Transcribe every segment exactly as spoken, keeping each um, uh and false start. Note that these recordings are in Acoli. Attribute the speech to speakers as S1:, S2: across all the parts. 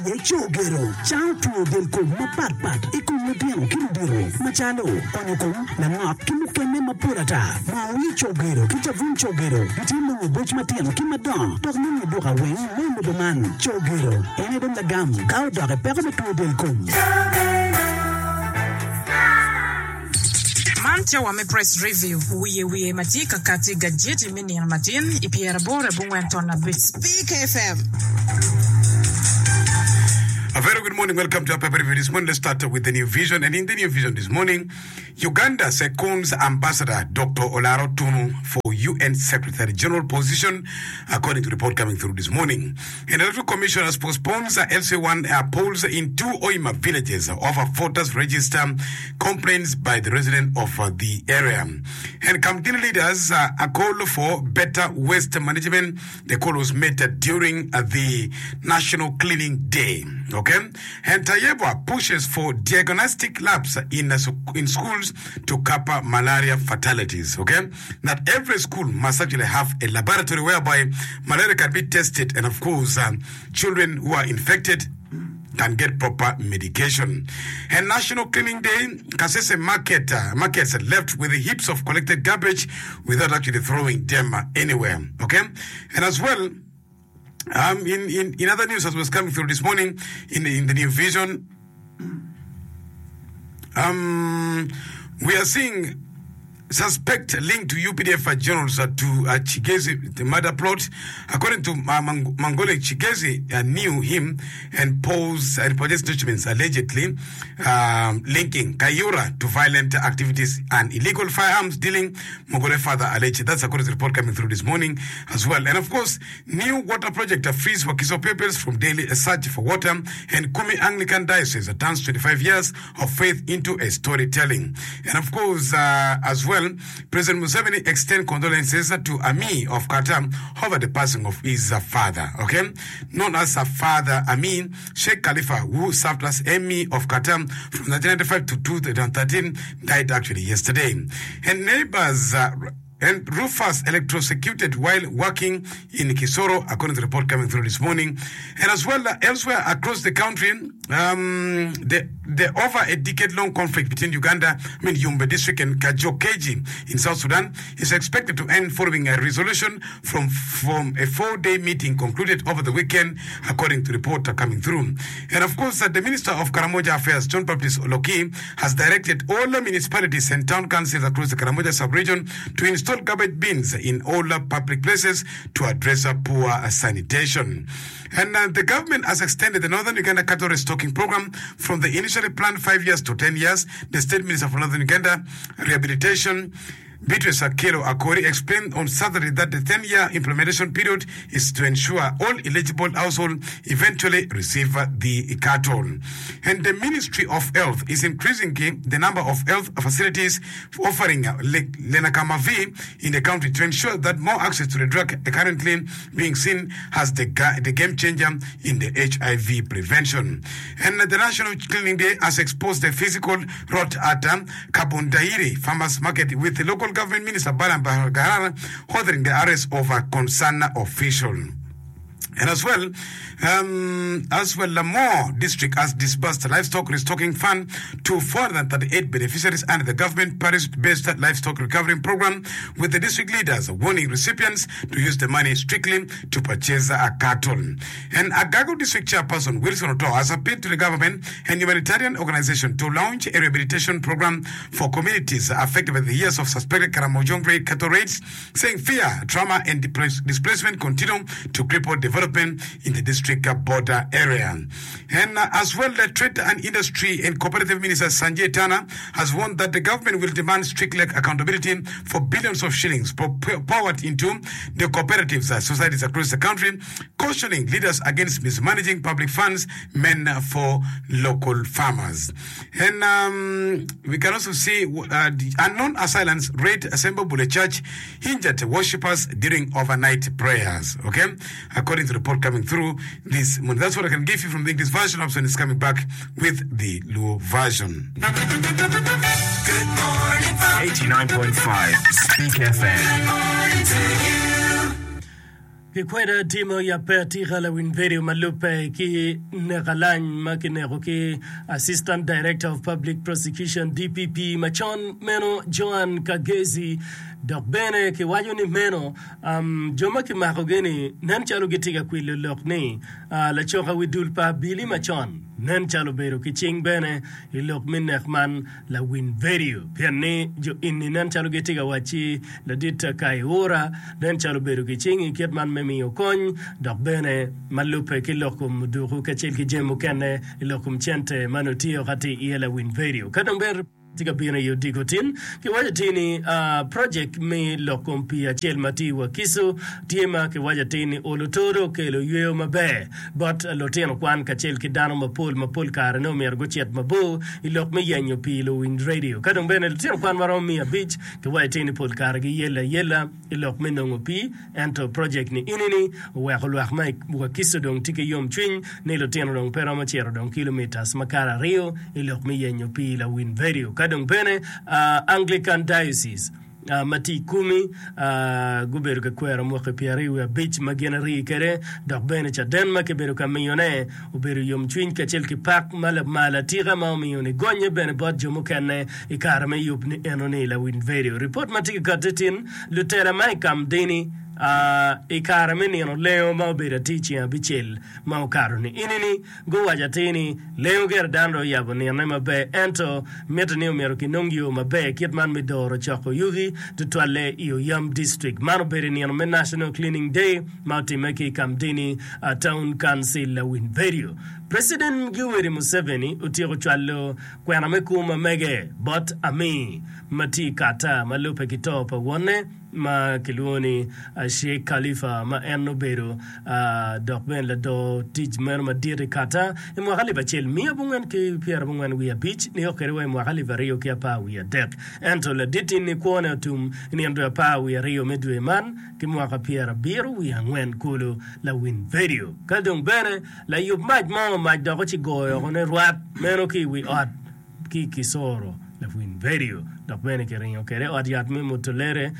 S1: aye Cogero. Cango two del kom mapatpat i kom lutino ki ludito macalo onyo kom, langok ki mukene mapol ata. Moo wir Cogero ki cabun Cogero gitye nongo i boc matino ki madongo dok nongo i duka weng me lobo man. Cogero en aye dong lagam ka odok i peko me two del kom.
S2: Man cawa me Press Review, wiye wiye ma tye ka kati i gajeti me nino matin i pyeraboro abongwen ton abic.
S3: Speak F M.
S4: A very good morning. Welcome to our paper review this morning. Let's start with the New Vision. And in the New Vision this morning, Uganda seconds Ambassador Doctor Olara Otunnu for U N Secretary General position, according to report coming through this morning. And Electoral Commission has postponed the L C one uh, polls in two Hoima villages over voters register complaints by the resident of uh, the area. And Kamdini leaders uh, a call for better waste management. The call was made uh, during uh, the National Cleaning Day. Okay, and Tayebwa pushes for diagnostic labs in uh, in schools to curb malaria fatalities. Okay, that every school must actually have a laboratory whereby malaria can be tested, and of course, um, children who are infected can get proper medication. And National Cleaning Day, Kasese market, uh, markets left with heaps of collected garbage without actually throwing them uh, anywhere. Okay, and as well, um, in, in, in other news as was coming through this morning in the, in the New Vision, um, we are seeing suspect linked to U P D F generals uh, to uh, Kigezi, the murder plot. According to uh, Mang- Mangole, Kigezi uh, knew him and posed and possessed documents allegedly um, linking Kayura to violent activities and illegal firearms dealing. Mangole further alleged. That's according to the report coming through this morning as well. And of course, new water project uh, frees Wakiso pupils from daily search for water, and Kumi Anglican Diocese turns twenty-five years of faith into a storytelling. And of course, uh, as well, President Museveni extend condolences to Amir of Qatar over the passing of his uh, father. Okay, known as a father Amin, Sheikh Khalifa, who served as Emir of Qatar from nineteen ninety-five to twenty thirteen, died actually yesterday. And neighbors. Uh, and Rufus electrocuted while working in Kisoro, according to the report coming through this morning. And as well, uh, elsewhere across the country, um, the, the over a decade-long conflict between Uganda, I mean Yumbe district and Kajokeji in South Sudan is expected to end following a resolution from, from a four-day meeting concluded over the weekend, according to report coming through. And of course, uh, the Minister of Karamoja Affairs, John Baptist Oloki, has directed all the municipalities and town councils across the Karamoja sub-region to install garbage bins in all public places to address uh, poor uh, sanitation. And uh, the government has extended the Northern Uganda Cattle Restocking Program from the initially planned five years to ten years. The State Minister for Northern Uganda Rehabilitation, Beatrice Akello Akori, explained on Saturday that the ten-year implementation period is to ensure all eligible households eventually receive the cattle. And the Ministry of Health is increasing the number of health facilities offering Lenacapavir in the country to ensure that more access to the drug currently being seen as the, the game changer in the H I V prevention. And the National Cleaning Day has exposed the physical rot at um, Kabundairi Farmers Market, with the local government minister Balaam Barugahara ordering the arrest of a concerned official. And as well, um, as well, Lamore District has disbursed livestock restocking fund to four hundred thirty-eight beneficiaries under the government parish-based livestock recovery program, with the district leaders warning recipients to use the money strictly to purchase a cattle. And Agago District Chairperson Wilson Oto has appealed to the government and humanitarian organization to launch a rehabilitation program for communities affected by the years of suspected Karamojong raid, cattle raids, saying fear, trauma, and displacement continue to cripple development in the district border area. And uh, as well, the Trade and Industry and Cooperative Minister Sanjay Tana has warned that the government will demand strict accountability for billions of shillings poured into the cooperatives uh, societies across the country, cautioning leaders against mismanaging public funds meant for local farmers. And um, we can also see uh, the unknown assailants raid Sembabule Church, injured worshippers during overnight prayers. Okay, according to the report coming through this morning. That's what I can give you from the English version. Option is coming back with the Luo version.
S5: Good morning,
S6: eighty-nine point five Speak F M.
S5: Good morning to you.
S3: Kikweda tye ma oyabbe atika lawiny vedio ma lubbe ki nek alany ma kineko ki Assistant Director of Public Prosecution, D P P, macon meno Joan Kagezi. Dok bene kiwaco ni meno jo ma kimakogi-ni nen calo gitye ka kwilo lok ni lacoka wi dul pa abili macon nen calo obedo ki cing bene i lok me nek man lawiny vedio pien ni jo eni nen calo gitye ka wacci ladit Kayihura nen calo obedo ki cing i kit man me miyo kony dok bene ma lubbe ki lok kom muduku kacel ki jami mukene i lok kom cente ma nongo tye ka tye iye lawiny vedio ka dong bene tye ka bino i odiko tin. Kiwaco atir ni projek me lok kom pii acel ma tye i Wakiso tye ma kiwaco atir ni olo todo okelo yweyo maber bot lutino kwan kacel ki dano mapol ma pol kare nongo myero gucit mabor i lok me yenyo pii luwiny radio. Ka dong bene lutino kwan maromo miya abic kiwaco atir ni pol kare giyelle ayela i lok me nongo pii ento projek ni enini oweko lwak ma i Wakiso dong tye ki yomcwiny ni lutino dong pe romo cito dong kilomitas makato aryo i lok me yenyo pii lawiny vedio. Ka dong bene Anglican Diocese ma tye i Kumi gubedo ka kwero mwaki pyeraryo wiye abic ma gin arii kwede dok bene caden ma kibedo ka miyone obedo yomcwiny kacel ki pak ma lamal atika ma omiyo nigonye bene bot jo mukene i kare me yub ni enoni lawiny vedio. Ripot ma tye ka kati tin lutela ma i kam dini i kare me nino lengo ma obedo atir ceng abicel ma okato ni enini guwaco atir ni lengo gire dano dong oyabo nine maber ento mitte ni omyero kinong yo maber kit man me doro coko yugi tutwalle i Oyam District. Man obedo i nino me National Cleaning Day ma otimme ki i Kamdini Town Council lawiny vedio. President Yoweri Museveni otyeko cwalo kwena me kwo ma mege bot Amir ma tye i Qatar ma lubbe ki to pa wonne ma kilwongo ni Sheikh Khalifa ma en obedo dok bene lador tic meno madit i Qatar i mwaka alip acel miya abongwen ki pyerabongwen wiye abic nio kwede wa i mwaka alip aryo ki apar wiye adek. Ento ladit-ti-ni kwone otum i nino dwe apar wiye aryo me dwe man ki mwaka pyerabiro wiye angwen kulu. Lawiny vedio. Ka dong bene layub mac mo mac dok ci goyo woko ne rwat meno ki i wi ot ki i Kisoro. Lawiny vedio. Dok bene kiringo kwede i ot yat me Mutolere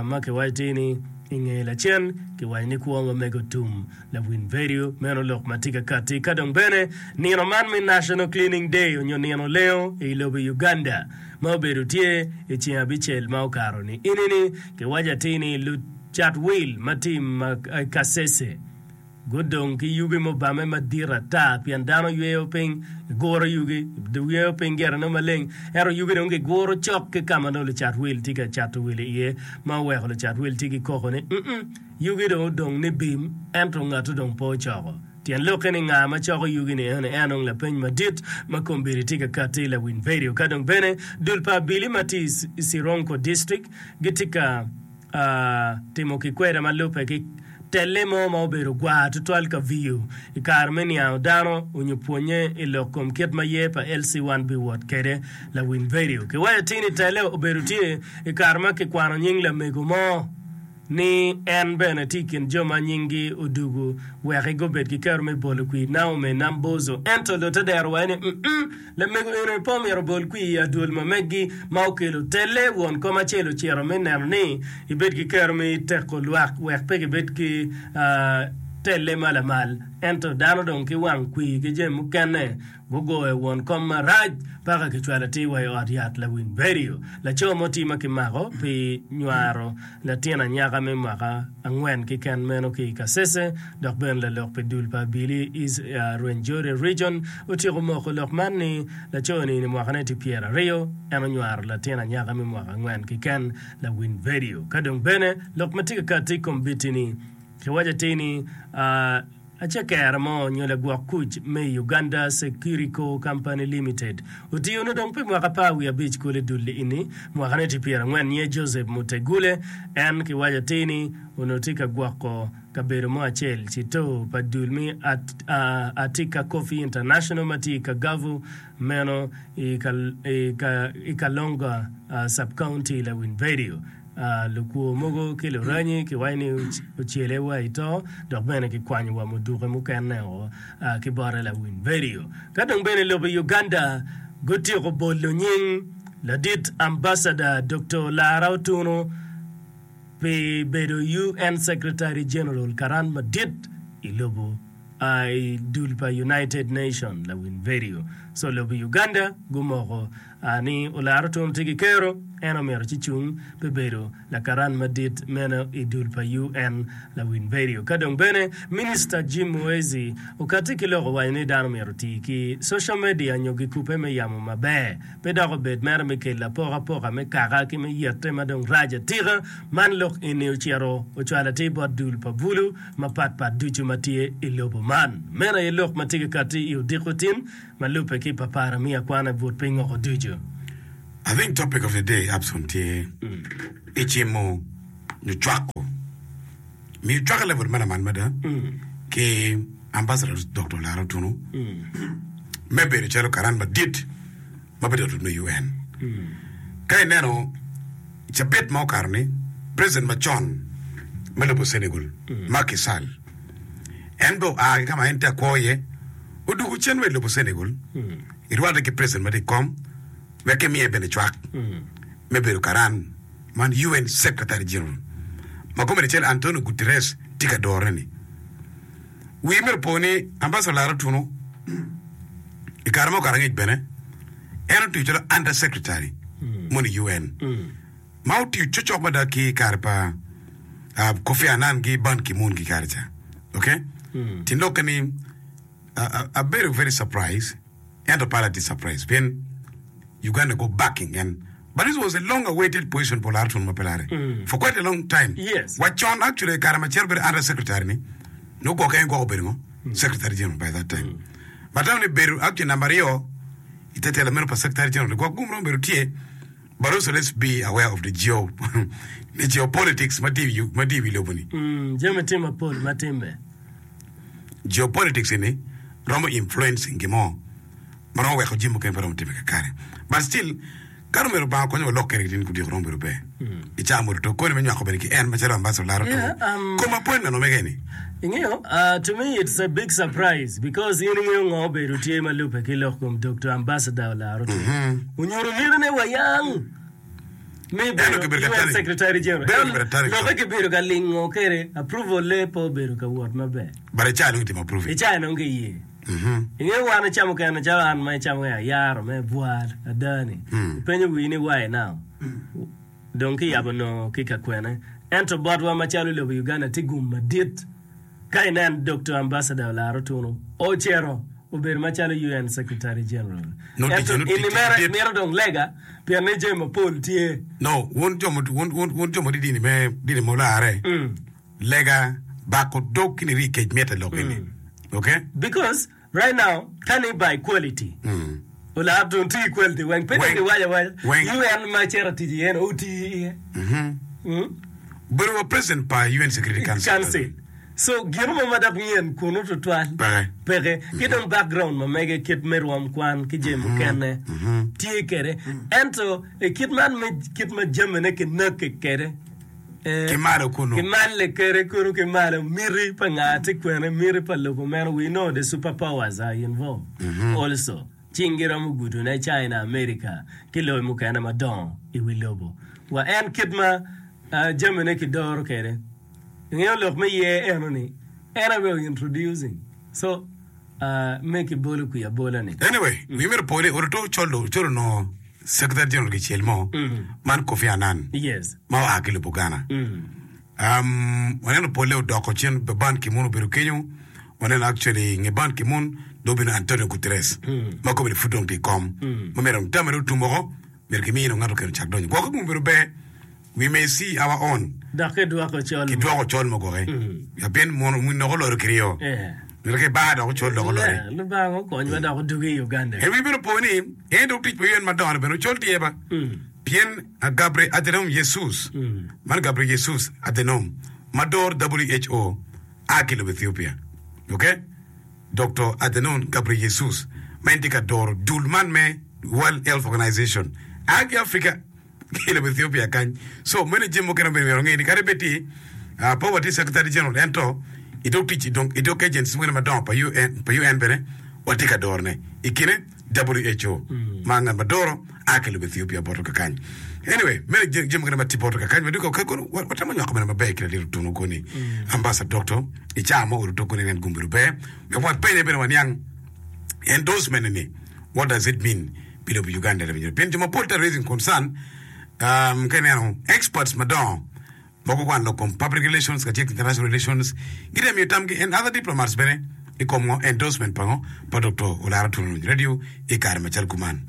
S3: ma kiwaco atir ni i nge lacen kiwaco ni kwo ma mege otum. Lawiny vedio. Meno lok ma tye ka katti. Ka dong bene nino man me National Cleaning Day onyo nino lengo i lobo Uganda ma obedo tye i ceng abicel ma okato ni enini kiwaco atir ni lucat wil ma tye i Kasese gudong ki yugi mubame madit ata pien dano yweyo piny, giguro yugi, yweyo piny gire nongo maleng ento yugi dong giguro cok ki ka ma nongo lucat wil tye ka cato wil iye ma oweko lucat wil tye ki koko ni mm yugi dong odong ni bim ento ngatu dong pe ocoko. Tyen lokke ni nga ma coko yugi ni eno en dong lapeny madit ma kombeddi tye ka katti lawiny vedio. Ka dong bene dul pa abili ma tye i Sironko District gitye ka timo kikweda ma lubbe ki telle mo ma obedo gwar tutwal ka viyo i kare me niango dano onyo pwonye i lok kom kit ma yer pa L C one biwot kede. Lawiny vedio kiwaco atir ni telle obedo tye i kare ma kikwano nying lamego mo ni en bene tye i kin jo ma nyinggi odugu wek gubed ki kero me bolo kwir Naomi Nambozo. Ento lutte dero waco ni, Mm-mm, lamego eno pe omyero obol kwir i adwol ma meggi ma okelo telle. Won kom acel ocito me neno ni ebed ki kero me teko lwak wek pe gibed ki telle ma lamal. Ento dano dong ki wang kwir ki jami mukene Gugoyo won kom marac paka kicwalo atir wa i ot yat lawiny vedio. Laco mo tye ma kimako pi nywaro latin anyaka me mwaka angwen keken meno ki i Kasese dok bene lalok pi dul pa abili East Rwenzori Region otyeko moko lok man ni laco ni mwakane tye pyeraryo en onywaro latin anyaka me mwaka angwen keken lawiny vedio. Ka dong bene lok ma tye ka kati i kom biti ni kiwaco atir ni Acekere mo nyo lagwok kuc me Uganda Securico Company Limited otiyo ne dong pi mwaka apar wiye abic kulu i dul ini. Mwaka ne tye pyerangwen nyinge Joseph Mutegule. En kiwaco atir ni onongo tye ka gwoko kabedo mo acel cito pa dul me Atika Coffee International ma tye i Kagavu meno i Kalonga Sub-County Lawiny Radio. Lukwo mogo ki luranyi kiwaco ni ocele wa i to dok bene kikwanyo wa muduke mukene o ki bote lawiny vedio. Ka dong bene lobo Uganda gutyeko bolo nying ladit Ambassador Doktor Lara Otunu pi bedo U N Secretary General, karan madit i lobo i dul pa United Nation. Lawiny vedio so lobo Uganda gumoko ni Olara Otunnu tye ki kero, en omyero ci cung pi bedo lakaran madit meno i dul pa U N. Lawiny vedio ka dong bene Minista Jim Muhwezi okati ki lok owaco ni dano myero oti ki social media nyo gikupe me yamo maber, pe dok obed mere me kelo apokapoka me kaka ki me yette ma dong rac atika. Man lok eni ocito ocwalo atir bot dul pa bulu mapatpat ducu ma tye i lobo man. Meno aye lok ma tye ka kati i odiko tin ma lubbe ki papara mi akwana i but piny oko ducu.
S4: I think topic of the day Abson tye i cimo nyo cwako miyo cwako level ma lamal mada ki Ambassador Doctor Olara Otunnu me bedo calo karan madit ma bedo me U N. Ka ineno cabit ma okato ni president macon me lobo Senegal, Macky Sall, en be oa ki kama en tye akwo iye, odugo cen wa i lobo Senegal irwatte ki president ma tye i kom wek kimiye bene cwak me bedo karan man U N Secretary General ma kome cel Antonio Guterres tye ka dorone ni. Wi myero po ni Ambassador Olara Otunnu i kare ma okato angec bene en otiyo calo under secretary moni U N ma otiyo cocok mada ki kare pa uh, Kofi Annan gi Ban Ki-moon ki kare ca. Okay, tin lokke ni uh, abedo very surprised, ento pala tye surprise pien Uganda go backing en, but this was a long awaited position for Olara Otunnu ma pe lare for quite a long time.
S3: Yes.
S4: Wacon actually kare ma cero bedo under secretary ni nogwoke en gwoko obedo ngo secretary general by that time, but now ni bedo actually number aryo ite telo meno pa secretary general gwok gum romo bedo tye. But also let's be aware of the geo the geopolitics ma tye i wi- ma tye i wi lobo ni.
S3: Mm, jami tye mapol ma timme.
S4: Geopolitics ni romo influencing gimo ma romo weko jami mukene pe romo timme kakare, but still ka romo Lubanga konyo wa lok kede tin kudyeko romo bedo ber i caa modo to koni me nywako bene ki en macalo ambassador Olara
S3: Yeah, um,
S4: kom appointment omege ni.
S3: Ingeyo, uh, to me it's a big surprise because in ingeyo ngo obedo tye ma lubbe ki lok kom Doctor Ambassador Olara Otunnu. Onyuto mitine wayang me bedo
S4: kibedo ka
S3: U N
S4: tali.
S3: Secretary General.
S4: Bedo kibedo tali.
S3: Lokke kibedo ka lingo kede approval le pe obedo ka wot maber.
S4: But i caa dong itimo approve.
S3: I caa nongo kiye. Ingeyo wan icamo kene calo an ma icamo ki ayaro me bwar adani. Ipenyo wii ni why now? Dong kiyabo nongo ki ka kwene. Ento botwa macalo lobo Uganda tye gum madit. Ka inen Doctor Ambassador Olara Otunnu ocito obedo macalo U N Secretary General.
S4: No,
S3: Ento
S4: tic- no,
S3: ini
S4: tic-
S3: mere
S4: tic-
S3: mito dong lega pien ni jami mapol tye.
S4: No, wun jo mo- wun wun wun jo mo di dini me dini mo lare lega bako dog kini ri kec miete lok ini, okay.
S3: Because right now ka ni by quality Olara Otunnu tye ki quality weng pe
S4: Weng.
S3: dong giwaco awaca
S4: Weng.
S3: U N ma cito tic iye ni oti iye. Mm.
S4: Bedo wa president pa U N Security Council.
S3: Council. So gino mo ma dok nyen kunu tutwal
S4: Peke.
S3: Peke. Ki dong background ma mege kit me rwom kwan ki jami mukene tye kede. Ento i kit man me kit ma jamine kinakke kede eh,
S4: Ki malo kunu.
S3: Ki malle kede kunu ki malo miti pa nga tye kwene, miti pa lobo meno. We know the superpowers are involved also. Cing giromo gudone China, America ki lobe mukene madongo i wi lobo. Wa en kit ma uh, jamine kidoro kede. Ingeyo lok me ye eno ni en aye introducing so uh, me kibolo kwi abola ni.
S4: Anyway, wi myero po ni oruto colo colo no secretary general kicel mo man Kofi Annan
S3: Yes.
S4: ma oa ki lobo Ghana.
S3: Mm.
S4: um, waneno pole odoko cen Ban Ki-moon obedo kenyo. Waneno actually nge Ban Ki-moon do obino Antonio Guterres ma kobedo pud dong tye i kom ma myero tamane otum oko myero kimino ngato keno cak donyo gwokke gum obedo ber. We may see our own.
S3: Dok kidwoko col.
S4: Kidwoko col mo gwoke pien noko oloro kiryo.
S3: Eh.
S4: Myero ki bar dok ocol dok olori.
S3: Yeah, Lubanga okonywa dok odugi i Uganda.
S4: En wi bino po ni en dok tic pa U N madongo bene ocol tye ba pien a Gabriel Adhanom Jesus man Gabriel Jesus Adhanom ma dor W H O a ki lobo Ethiopia, okay. Doctor Adhanom Gabriel Jesus ma en tye ka doro dul man me World Health Organization a ki Africa ki lobo Ethiopia kany. So meno jami mukene bene myero nge ni kadi bed ti uh, pe watye secretary general, ento i dog tic i dong- i dog agencies mukene madongo pa U N, pa U N bene watye ka dorone i kine W H O ma ngat ma doro a ki lobo Ethiopia boto kakany. Anyway, meno jami mukene ma tye bot kakany ma duka kono watemo nywako meno maber ki ladit Otunu koni. Ambassador Doctor i caa mo oruto koni en gum bedo ber. Wek wapenye bene waniang endorsement ni what does it mean pi lobo Uganda lawinyo. Pien jo mapol tye raising concern um, ka ineno experts madongo ma gukwano lok kom public relations kacel ki international relations gitye miyo tamgi and other diplomats bene i kom ngo endorsement pa ngo pa Doctor Olara Otunu Lawiny Radio i kare macalo kuman.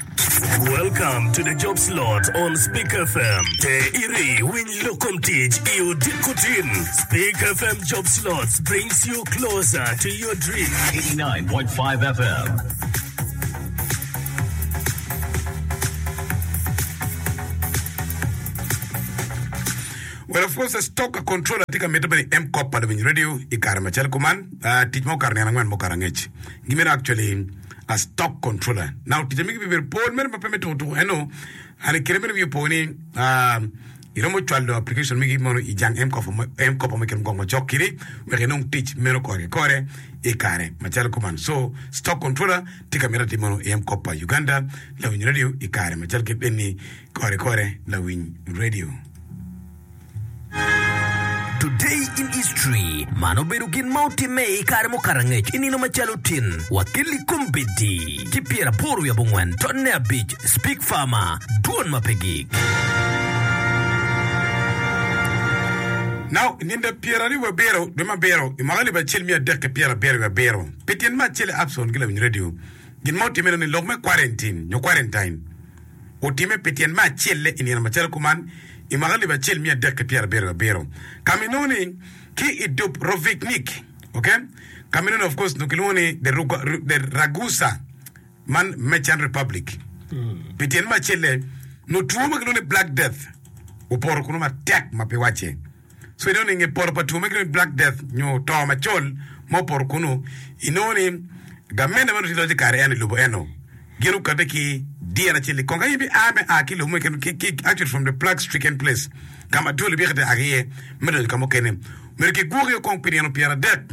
S3: Welcome to the job slot on Speak F M. Te iri winy lok kom tic i odiko tin. Speak F M Job Slots brings you closer to your dream.
S6: eighty-nine point five F M.
S4: Well, of course, stock controller tye ka mitte bene i M-Kopa Lawiny Radio i kare macalo kuman. Uh, tic ma okato nino angwen mukato angec. Gimito actually a stock controller. Now, tic amigi bibedo pol mere ma pe me tuko tuko eno. And i kine meno wiye opo ni uh, iromo cwalo application migi mono i jang M-Kopa mo- M-Kopa mo kine mukong macok kidi wek inong tic meno kore ki kore i kare macalo kuman. So, stock controller tye ka mito atim mono i M-Kopa Uganda Lawiny Radio i kare macalo kit eni kore kore Lawiny Radio.
S7: Today in history man obedo gin ma otimme i kare mukato angec i nino macalo tin wakeli kombeddi ki pyeraboro wiye abongwen tonne abic Speak Farmer dwon ma pe gik.
S4: Now, nindo pyeraryo wiye abiro dwe me abiro i mwaka alip acel miya adek ki pyerabiro wiye abiro pi tyen me acel i Abson ki Lawiny Radio gin ma otimme ni lok me quarantine nyo quarantine otimme pi tyen me acel i nino macalo kuman i mwaka alip acel miya adek ki pyerabiro wiye abiro ka ma inongo ni ki i Dubrovnik, okay, ka ma inongo ni of course nongo kilwongo ni the, Ruga, the Ragusa man Merchant Republic pi tyen me acel nongo two ma kilwongo ni Black Death opoto kunu matek ma pe wacce. So inongo ni nge poto pa two ma kilwongo ni Black Death nyo to macol ma opoto kunu inongo ni gamente ma nongo tye loc i kare eno i lobo eno gin okate ki dyere acel i kong ka in bi a me a ki lobo mo keken ki, ki, actually from the plague stricken place ka ma twol ibike te a ki iye me donyo ka mukene myero kigwoki kong pi nino pyeradek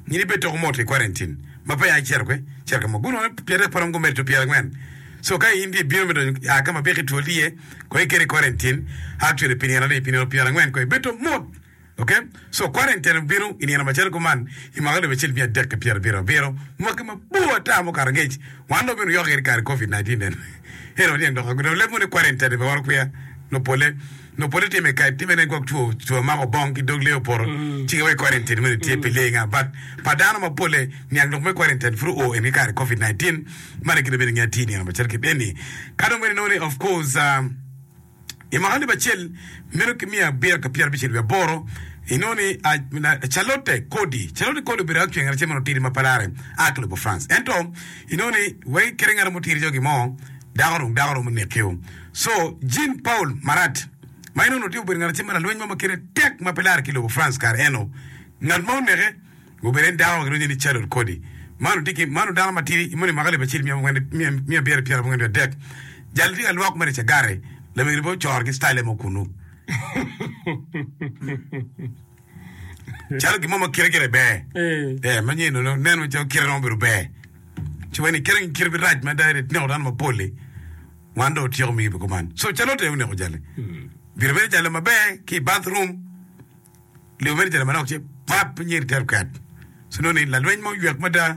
S4: in ibed toko mot i quarantine ma pe ya icito kwe cito ka mo guno pyeradek pe romo gumedo to pyerangwen. So ka in tye ibino me donyo a ka ma biki twol tye iye kong iketi i quarantine actually pi nino adi pi nino pyerangwen kong ibed to mot. Okay, so quarantine obino i nino macalo kuman i mwaka alip acel miya adek ki pyerabiro abiro mwaki mabor ata mukato angec wan dong obino yoko i kare covid nineteen eno eno waniang dok dong leb mo ni quarantine pe waro kwiya no pole no pole time ka time ne gwok two two mako bong ki dog lee opoto ci giwaco quarantine meno tye pi lee nga but pa dano mapole niang lok me quarantine pud oo en ki kare covid nineteen man kite bene nge tye i nino macalo kit eni ka dong bene inongo ni of course uh, i mwaka alip acel meno ki miya abiro ka pyerabicel wiye aboro inongo ni Charlotte Corday Charlotte Corday obedo actually ngat acel ma otidi ma palare a ki lobo France ento inongo ni wek kite ngat mo tidi jogi mo dako dong dako romo nekeo so Jean Paul Marat ma inongo tye obedo ngat acel ma lalweny mo ma kite tek ma pe lare ki lobo France kare eno ngat ma oneke obedo en dako ma kilwongo ni Charlotte Corday man tye ki man dano matidi imoni mwaka alip acel miya abiro pyerabongwen wiye adek jal tye ka lwok mere cagare lamego be ocoro ki style mo kunu calo gin mo ma kite gire ber eh ma nyen no neno calo kite romo bedo ber ci wani kite kite bi rac mada neko dano mapol-li wan dong otyeko migi be kuman so Charlotte oneko jali bino bene jalo maber ki i bathroom libo mere jalo manok ci pap nyeri tero ket so nongo ni lalweny mo oywek mada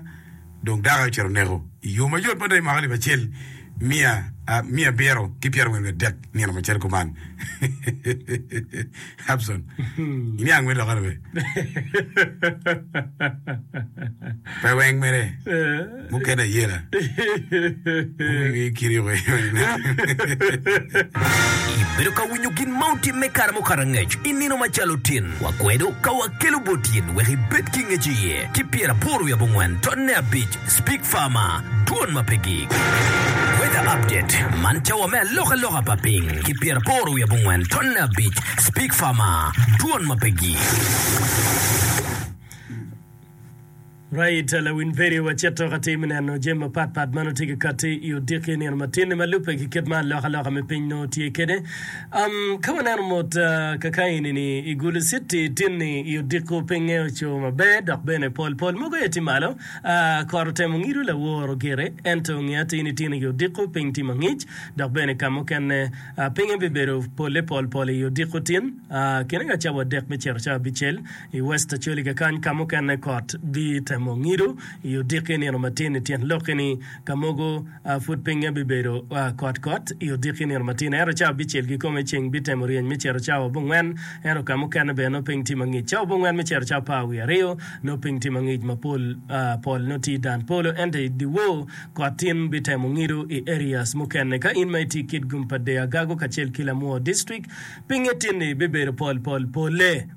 S4: dong dako ocito oneko i yo mayot mada i mwaka alip acel miya miya abiro ki pyerangwen wiye adek nino macalo kuman. Abson iniang me lokane be pe weng mere mukene ayela
S7: Ibedo ka winyo gin ma otimme kare mukato angec i nino macalo tin. Wakwedo ka wakelo bot in wek ibed ki ngec iye ki pyeraboro wiye abongwen tonne abic Speak Farmer, dwon ma pe gik. Weather update, man cawa me alokaloka pa piny ki pyeraboro wiye abongwen tonne abic Speak Farmer, dwon ma pe gik.
S3: Right, lawiny redio wacito ka tye me neno jami mapat pat ma nongo tye ka kati i odiki nino matin-ni ma lubbe ki kit ma alokaloka me piny nongo tye kwede. Um, ka waneno mot uh, kaka eni-ni i Gulu City tin-ni i odiko pinye oco maber dok bene pol pol mogo aye tye malo. Uh, kot otemo ngido laworo gire ento nge atir ni tin i odiko piny tye mangic dok bene ka mukene uh, pinye bibedo pole pol pol i odiko tin uh, kine ka cawa adek me cito cawa abicel i West Acholi kakany ka mukene kot bitemo ngido i odiki nino matin i tyen lokki ni ka mogo pud pinye bibedo kot kot i odiki nino matin ento cawa abicel kikome ceng bitemo ryeny me cito cawa abongwen ento ka mukene bene nongo piny tye mangic cawa abongwen me cito cawa apar wiye aryo nongo piny tye mangic ma pol pol nongo tye i dan polo ento i dyewor kot tin bitemo ngido i areas mukene ka in ma itye i Kitgum pa Dee Agago kacel ki Lamwo District pinye tin-ni bibedo pol pol pole.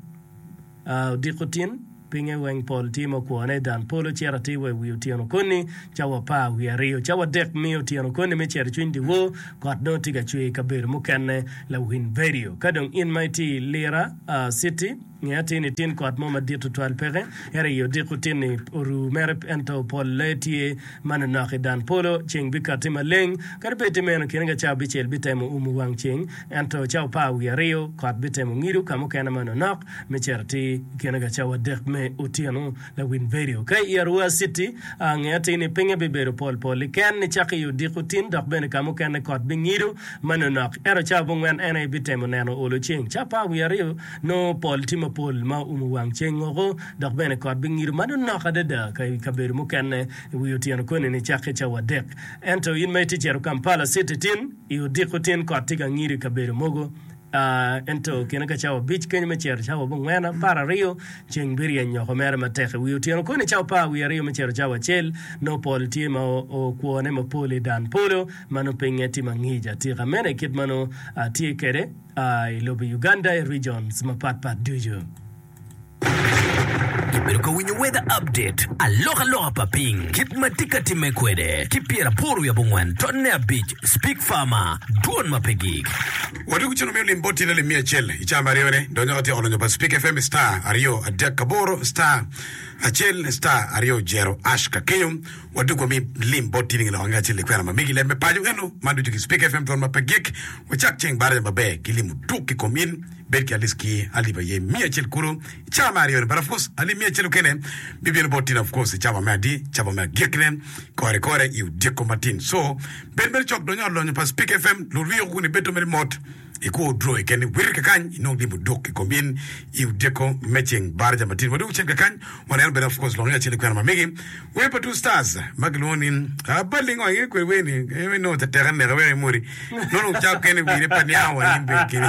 S3: Odiko tin, pinye weng pol tye ma okwone i dan polo cito atir wa i wi otyeno koni, cawa apar wiye aryo. Cawa adek me otyeno koni me cito i cwiny dyewor, kot nongo tye ka cwer i kabedo mukene lawiny vedio. Ka dong in ma itye i Lira City, nge atir ni tin kot mo madit tutwal peke, ento i odiko tin-ni oru mere ento polle tye manonok i dan polo, ceng bikatti maleng. Kadi bed ti meno, kine ka cawa abicel bitemo umo wang ceng, ento cawa apar wiye aryo kot bitemo ngido ka mukene manonok me cito atir i kine ka cawa adek me otyeno. Lawiny vedio ka i Arua City, nge atir ni pinye bibedo pol pol liken nicako i odiko tin dok bene ka mukene kot bingido manonok. Ento cawa abongwen en aye bitemo neno olo ceng. Cawa apar wiye aryo nongo pol tye mapol ma oumo wang ceng woko dok bene kot bingido manonok adada ka i kabedo mukene. I wi otyeno koni nicakke cawa adek. Ento in ma itye cito Kampala City tin, i odiko tin kot tye ka ngido i kabedo mogo. Ento kine ka cawa abic kenyo me cito cawa abongwen apar aryo, ceng biryeny oko mere matek. I wi otyeno koni cawa apar wiye aryo me cito cawa acel, nongo pol tye ma okwone mapol i dan polo, ma nongo pinye tye mangic atika. Meno aye kit ma nongo tye kwede i lobo Uganda i regions mapatpat ducu.
S7: Ibedo ka winyo Weather Update, alokaloka pa piny kit ma tye ka timme kwede ki pyeraboro wiye abongwen tonne abic Speak Farmer, Dwon ma pe gik.
S4: Wadwogo cen omiyo lim bot tyen alip miya acel i caa me aryone. Donyo ka tyeko lonyo pa Speak F M star aryo adek aboro star acel star aryo jero ash ka kenyo. Wadwogo wami lim bot tyen i nge lok ange acel i kwena ma megi leb me paco eno man ducu ki Speak F M dwon ma pe gik. Wacak ceng baraja maber ki limo duk i kom in. Bed ki alip ki alip aye miya acel kulu i cawa me aryo-ni. But of course, alip miya acel okene bibino bot tin of course i cawa me adi, cawa me agikne, kore kore i odiko matin. So, bed mere cok donyo ot lonyo pa Speak F M, luriko kun ibedo mere mot, ikwo odro keken iwir kakany, inong lim oduk i kom in i odiko me ceng baraja matin. Wadwogo cen kakany, waneno bene of course lonyo acel i kwena ma megi. Wer pa Two Stars ma kilwongo ni Abali ngo inge kwede wer ni eh, inongo teteka neke wek imodi. Nono cako kene wire pa niango wa in bene keni.